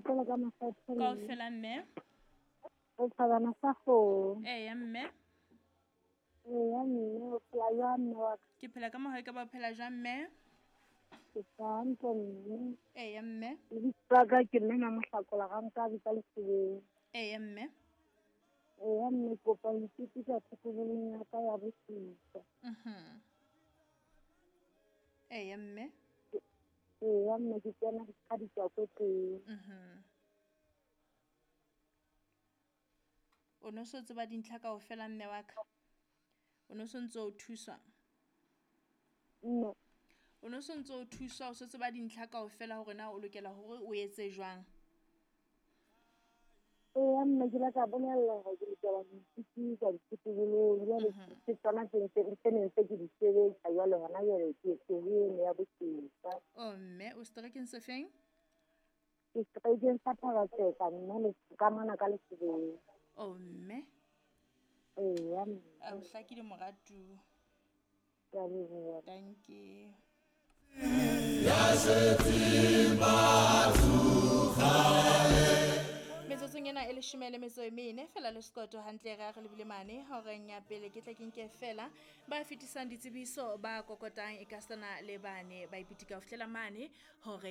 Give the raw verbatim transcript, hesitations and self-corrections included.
Rapela ka makgethe. Kaofela mme. Re thabana sa kgomo. Eya mme. Eya mme, o phela jwang mme wa ka? Ke phela ka mohau e ka ba o phela jwang mme? Ke phela hantle mme. Eya mme. Lebitso la ka ke mme Mamohlakola Rankabi ka Lesebeng. Eya mme. Eya mme, kopa ho itsebisa thokobolong ya ka ya bosupa. Mhm. Eya mme. Eya mme, ke kena ka ditswako teng. Mhm. O no so tseba dintlha kaofela mme wa ka? O no so ntse o thuswa? Mme. O no so ntse o thuswa, o so tseba dintlha kaofela hore na o lokela hore o etse jwang? Eya mme, ke ile ka bolella hore ke lokela ho itsebisa dithotobolong. Jwale ke tsona tse ntse tse neng ntse ke di sebetsa jwale hona jwale ke ke ho eno ya bosupa. Oh mme, o seterekeng se feng? Ke seterekeng sa Thaba-Tseka mme le ka mona ka Lesebeng. Oh mme. Eya mme. A o hlakile moratuwa. Ke a leboha. Dankie. Metsotsong ena e leshome le metso e mene fela le sekoto hantle re a re lebile mane horeng ya pele ke tle ke nke fela ba fetisang ditsebiso ba kokotang e ka sana le bane ba ipitika ho fihlela mane horeng.